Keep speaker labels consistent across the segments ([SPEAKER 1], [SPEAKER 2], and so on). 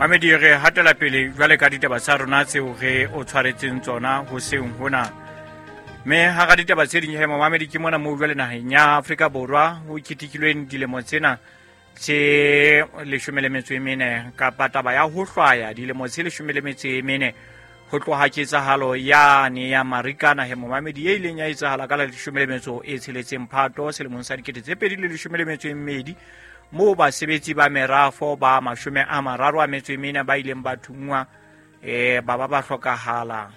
[SPEAKER 1] Mamedi, re hatela pele jwale ka ditaba tsa rona tseo re o tshwaretseng tsona hoseng hona. Mme hara ditaba tse ding he, momamedi, ke mona moo jwale naheng ya Afrika Borwa ho ketekilweng dilemo tsena tse 14, kapa taba ya ho hlwaya dilemo tse 14 ho tloha ketsahalo yane ya Marikana he, momamedi, e ileng ya etsahala ka la 16 Phato selemong sa 2012, moo basebetsi ba merafo ba 34 ba ileng ba thungwa, ba ba ba hlokahala,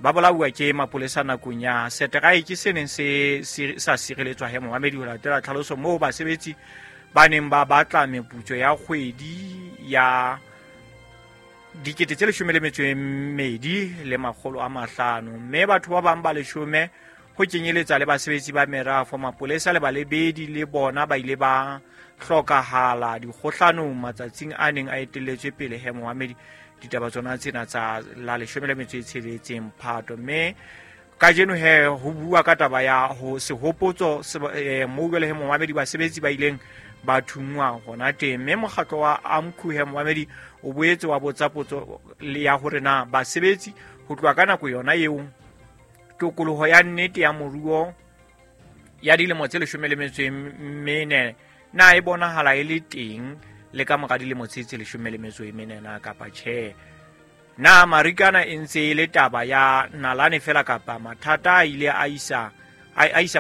[SPEAKER 1] ba bolauwa ke mapolesa nakong ya seteraeke se neng se sa sireletswa he, momamedi, ho latela tlhaloso moo basebetsi ba neng ba batla meputso ya kgwedi ya 12 500. Mme batho ba bang ba 10, ho kenyeletsa le basebetsi ba merafo, mapolesa le balebedi, le bona ba ile ba hlokahala dikgohlanong matsatsing a neng a etelletswe pele he, momamedi, ditaba tsona tsena tsa la 16 Phato. Mme kajeno he ho bua ka taba ya ho sehopotso moo jwale he, momamedi, basebetsi ba ileng ba thungwa hona teng. Mme mokgatlo wa AMCU he, momamedi, o boetse wa botsa potso ya hore na basebetsi ho tloha ka nako yona eo tokoloho ya nnete ya moruo ya dilemo tse 14 na e bonahala e le teng le ka mora dilemo tse 14 na kapa tjhe. Na Marikana e ntse e le taba ya nalane fela, kapa mathata a ile a isa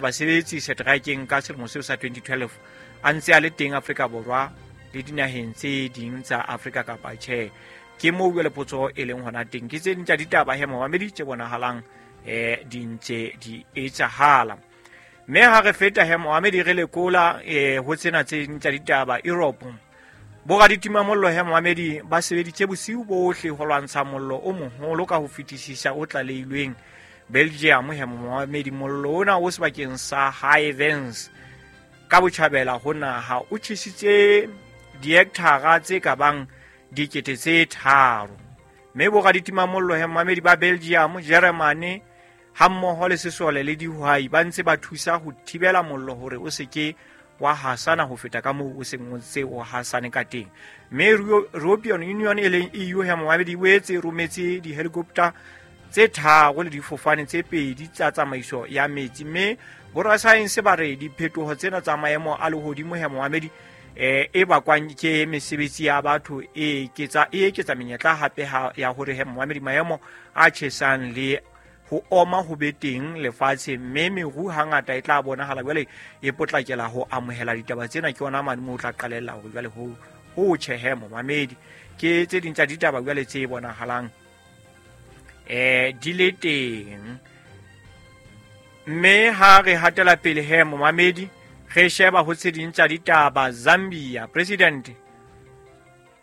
[SPEAKER 1] basebetsi seteraekeng ka selemo seo sa 2012 a ntse a le teng Afrika Borwa le dinaheng tse ding tsa Afrika kapa tjhe? Ke moo jwale potso e leng hona teng. Ke tse ding tsa ditaba he, momamedi, tse bonahalang di ntse di etsahala. Mme ha re feta he, momamedi, re lekola ho tsena tse ding tsa ditaba, Europe boraditimamollo he, momamedi, ba sebeditse bosiu bohle ho lwantsha mollo o moholo ka ho fetisisa o tlaleilweng Belgium he, momamedi. Mollo ona o sebakeng sa Hivens ka botjhabela ho naha o tjhesitse dihekthara tse ka bang 3000. Mme boraditimamollo he, momamedi, ba Belgium, Germany hammoho le sesole le dihwai ba ntse ba thusa ho thibela mollo hore o se ke wa hasana ho feta ka moo o seng o ntse o hasane ka teng. Mme European Union, e leng EU he, momamedi, e boetse e rometse di-helicopter tse tharo le difofane tse pedi tsa tsamaiso ya metsi. Mme borasaense ba re diphetoho tsena tsa maemo a lehodimo he, momamedi, e bakwang ke mesebetsi ya batho e eketsa menyetla hape ya hore he, momamedi, maemo a tjhesang le ho oma ho be teng lefatshe, mme meru hangata e tla bonahala jwale e potlakela ho amohela ditaba tsena. Ke ona mane moo o tla qalella hore jwale ho tjhehe, momamedi. Ke tse ding tsa ditaba jwale tse bonahalang di le teng. Mme ha re hatela pele he, momamedi, re sheba ho tse ding tsa ditaba, Zambia president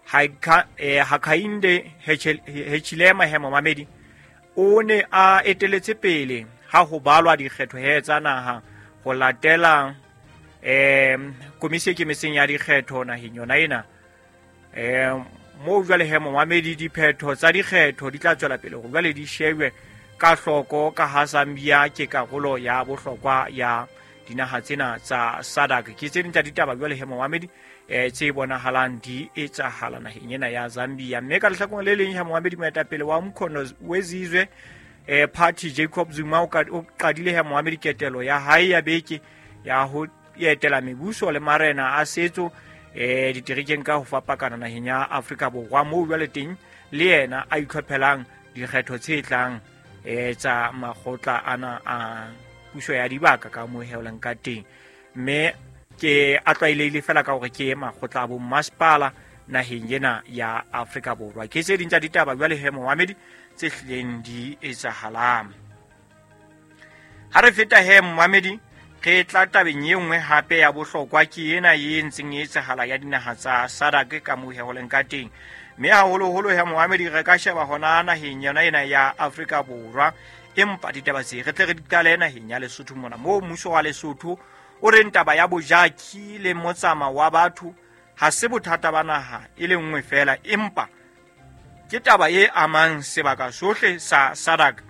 [SPEAKER 1] Hakainde Hichilema he, momamedi, o ne a eteletse pele ha ho balwa dikgetho he tsa naha ho latela komisi e kemetseng ya dikgetho naheng yona ena. Moo jwale he, momamedi, diphetho tsa dikgetho di tla tswela pele hore jwale di shebwe ka hloko, ka ha Zambia ke karolo ya bohlokwa ya dinaha tsena tsa SADC. Ke tse ding tsa ditaba jwale he, momamedi, tse bonahalang di etsahala naheng ena ya Zambia. Mme ka lehlakoreng le leng he, momamedi, moetapele wa Umkhonto weZizwe Party Jacob Zuma o qadile he, momamedi, ketelo ya hae ya beke ya ho etela mebuso le marena a setso diterekeng ka ho fapakana naheng ya Afrika Borwa, moo jwale teng le yena a itlhophelang dikgetho tse tlang tsa makgotla ana a puso ya dibaka ka moo heolang ka teng, mme ke a tlwaelehile fela ka hore ke makgotla a bommasepala naheng ena ya Afrika Borwa. Ke tse ding tsa ditaba jwale he, momamedi, tse hlileng di etsahalang. Ha re feta he, momamedi, re tla tabeng e nngwe hape ya bohlokwa, ke ena e ntseng e etsahala ya dinaha tsa SADC ka moo he ho leng ka teng. Mme haholoholo he, momamedi, re ka sheba hona naheng yona ena ya Afrika Borwa, empa ditaba tse re tle re di qale naheng ya Lesotho mona, moo mmuso wa Lesotho o reng taba ya bojaki le motsamao wa batho ha se bothata ba naha e le nngwe fela, empa ke taba e amang sebaka sohle sa SADC.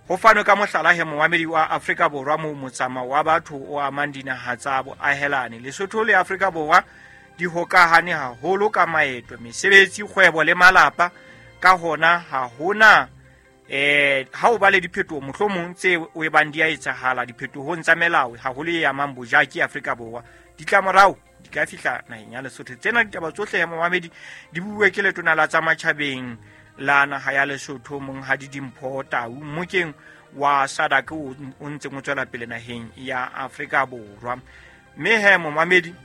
[SPEAKER 1] Ho fanwe ka mohlala he, momamedi, wa Afrika Borwa, moo motsamao wa batho o amang dinaha tsa boahelane Lesotho le Afrika Borwa. di hokahane haholo ka maeto, mesebetsi, kgwebo le malapa. Ka hona ha hona ha o ba le diphetoho mohlomong tse o e bang di a etsahala diphetohong tsa melao haholo e amang bojaki Afrika Borwa, ditlamorao di ka fihla naheng ya Lesotho. Tsena ditaba tsohle ya momamedi di buwe ke letona la tsa matjhabeng la naha ya Lesotho, Monghadi Dimpho Tau, mmokeng wa SADC o ntseng o tswela pele naheng ya Afrika Borwa. Mme he momamedi,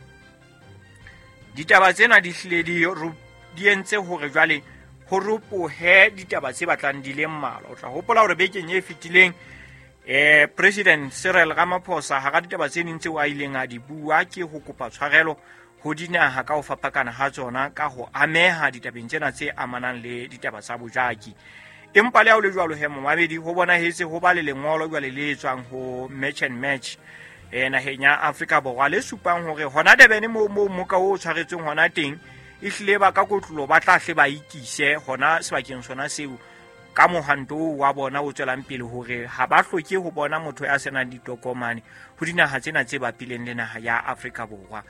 [SPEAKER 1] ditaba tsena di hlile di entse hore jwale ho ropohe ditaba tse batlang di le mmalwa. O tla hopola hore bekeng e fetileng President Cyril Ramaphosa hara ditaba tse ding tseo a ileng a di bua ke ho kopa tshwarelo ho dinaha ka ho fapakana ha tsona ka ho ameha ditabeng tsena tse amanang le ditaba tsa bojaki. Empa le ha ho le jwalo he momamedi, ho bonahetse ho ba le lengolo jwale le tswang ho Match and Match naheng ya Afrika Borwa le supang hore hona Durban moo moka o tshwaretsweng hona teng e hlile ba ka kotlolo ba tla hle ba ikise hona sebakeng sona seo ka mohwanto wa bona o tswelang pele hore ha ba hloke ho bona motho ya senang ditokomane ho dinaha tsena tse bapileng le naha ya Afrika Borwa.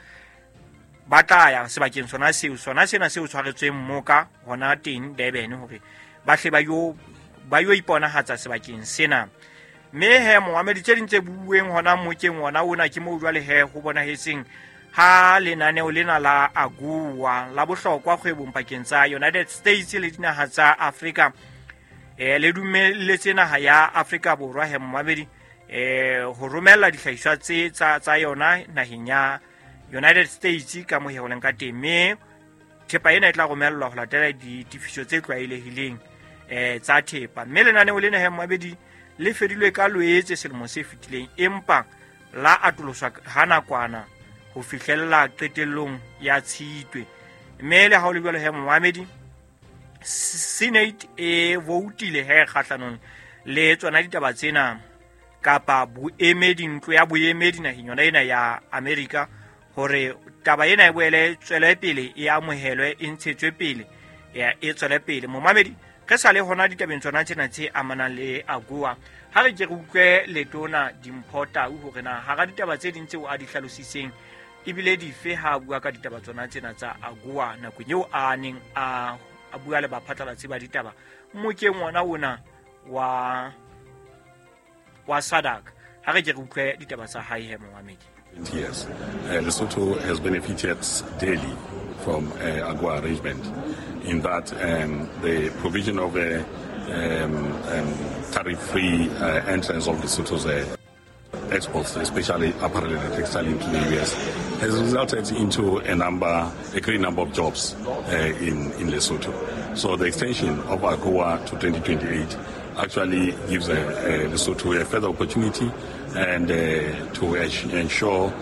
[SPEAKER 1] Ba tla ya sebakeng sona seo, sona sena seo tshwaretsweng moka hona teng Durban hore ba hle ba yo iponahatsa sebakeng sena. Mme he momamedi, tse ding tse buuweng hona mokeng ona ona ke moo jwale he ho bonahetseng ha lenaneo lena la AGOA la bohlokwa kgwebong pakeng tsa United States le dinaha tsa Afrika le dumelletse naha ya Afrika Borwa he momamedi ho romella dihlahiswa tse tsa yona naheng ya United States ka moo he ho leng ka teng. Mme thepa ena e tla romellwa ho latela ditefiso tse tlwaelehileng tsa thepa. Mme lenaneo lena he momamedi le fedilwe ka Loetse selemo se fetileng, empa la atoloswa ha nakwana ho fihlella qetellong ya Tshitwe. Mme le ha ho le jwalo he momamedi, Senate e voutile he kgahlanong le tsona ditaba tsena kapa boemedi, ntlo ya boemedi naheng yona ena ya Amerika, hore taba ena e boele tswele pele, e amohelwe, e ntshetswe pele, e tswele pele. Momamedi, re sa le hona ditabeng tsona tsena tse amanang le AGOA, ha re ke re utlwe letona Dimpho Tau hore na hara ditaba tse ding tseo a di hlalositseng ebile dife ha a bua ka ditaba tsona tsena tsa AGOA nakong eo a neng a bua le baphatlalatsi ba ditaba mokeng ona ona wa SADC. Ha re ke re utlwe ditaba tsa hae he momamedi.
[SPEAKER 2] Yes, Lesotho has benefited daily from AGOA arrangement in that the provision of a tariff-free entrance of Lesotho's exports, especially apparel and textile into the US, has resulted into a great number of jobs in Lesotho. So the extension of AGOA to 2028 actually gives Lesotho a further opportunity and to ensure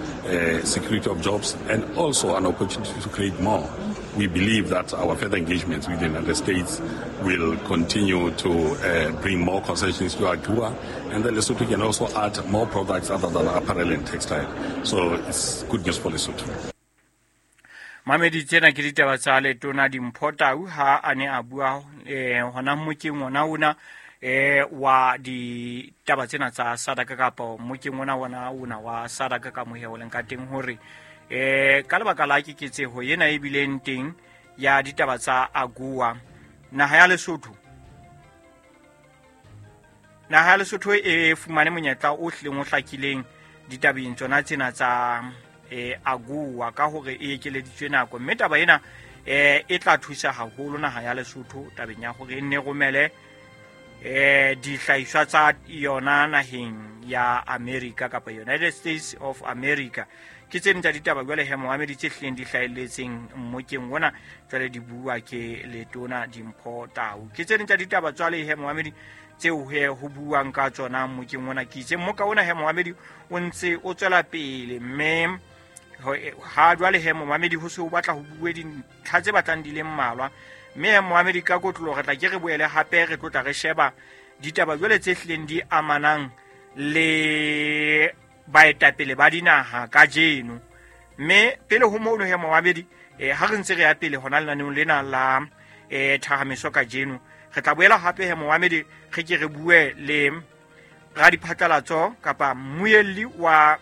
[SPEAKER 2] security of jobs and also an opportunity to create more. We believe that our further engagements with the United States will continue to bring more concessions to AGOA, and then Lesotho can also add more products other than apparel and textile. So it's good news for Lesotho.
[SPEAKER 1] Mamedi, tsena ke ditaba tsa letona Dimpho Tau ha a ne a bua hona mokeng ona ona wa ditaba tsena tsa SADC kapa mokeng ona ona ona wa SADC ka mohe o leng ka teng hore ka lebaka la keketseho ena e bileng teng ya ditaba tsa AGOA, naha ya Lesotho e fumane monyetla o hlileng o hlakileng ditabeng tsona tsena tsa AGOA ka hore e ekeleditswe nako. Mme taba ena e tla thusa haholo naha ya Lesotho tabeng ya hore e nne romele dihlahiswa tsa yona naheng ya America kapa United States of America. Ke tse ding tsa ditaba jwale he momamedi tse hlileng di hlahelletseng mmokeng ona jwale di bua ke letona Dimpho Tau. Ke tse ding tsa ditaba jwale he momamedi tseo he ho buang ka tsona mmokeng ona. Ke itse mmoka ona he momamedi o ntse o tswela pele, mme ha jwale he momamedi ho se o batla ho bue dintlha tse batlang di le mmalwa. Mme he momamedi ka kotlolo re tla ke re boele hape re tlotla re sheba ditaba jwale tse hlileng di amanang le baetapele ba dinaha kajeno. Mme pele ho mono he momamedi, ha re ntse re ya pele hona lenaneong lena la thahamiso kajeno, re tla boela hape he momamedi re ke re bue le radiphatlalatso kapa mmuelli wa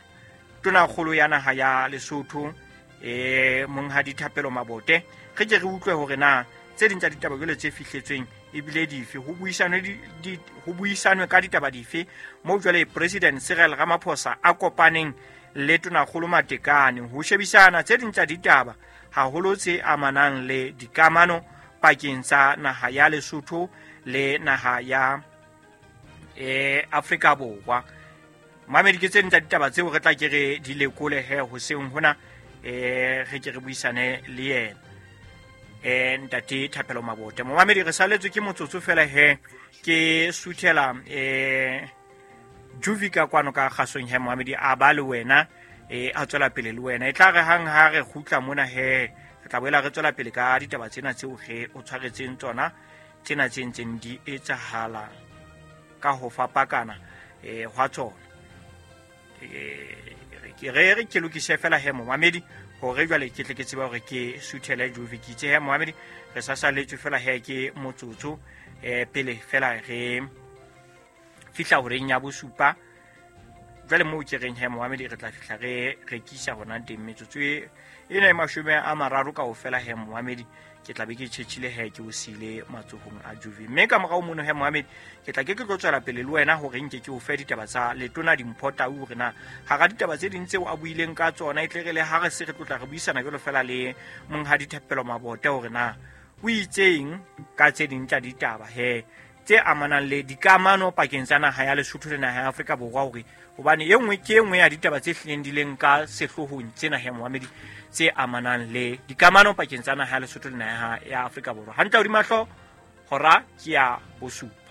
[SPEAKER 1] tonakgolo ya naha ya Lesotho Monghadi Thapelo Mabote, re ke re utlwe hore na tse ding tsa ditaba jwale tse fihletsweng ebile dife, ho buisanwe ka ditaba dife moo jwale President Cyril Ramaphosa a kopaneng le Tonakgolo Matekane ho shebisana tse ding tsa ditaba haholo tse amanang le dikamano pakeng tsa naha ya Lesotho le naha ya Afrika Borwa. Mamedi, ke tse ding tsa ditaba tseo re tla ke re di lekole he hoseng hona, re ke re buisane le yena Ntate Thapelo Mabote. Momamedi, re saletswe ke motsotso fela he, ke suthela Juvi ka kwano ka kgasong he momamedi, a ba le wena a tswela pele le wena. E tla re hang ha re kgutla mona he, re tla boela re tswela pele ka ditaba tsena tseo re o tshwaretseng tsona, tsena tse ntseng di etsahala ka ho fapakana hwa tsona. Ke re ke lokise fela he momamedi hore jwale ke tle ke tsebe hore ke suthele Juvi. Ke itse he momamedi, re sa saletswe fela he ke motsotso pele fela re fihla horeng ya bosupa. Jwale moo ke reng he momamedi, re tla fihla re rekisa hona teng metsotso ena e 30 kaofela he momamedi, ke tla be ke tjhetjhile he ke o siile matsohong a Juvi. Mme ka morao mono he momamedi, ke tla ke ke tlo tswela pele le wena hore nke ke o fe ditaba tsa Letona Dimpho Tau, hore na hara ditaba tse ding tseo a buileng ka tsona, e tle re le ha re se re tlotla re buisana jwalo fela le Monghadi Thapelo Mabote hore na o itseng ka tse ding tsa ditaba he tse amanang le dikamano pakeng tsa naha ya Lesotho le naha ya Afrika Borwa, hore hobane e nngwe ke e nngwe ya ditaba tse hlileng di leng ka sehloohong tsena he momamedi, tse amanang le dikamano pakeng tsa naha ya Lesotho le naha ya Afrika Borwa. Hantle hodima hlooho, hora ke ya bosupa.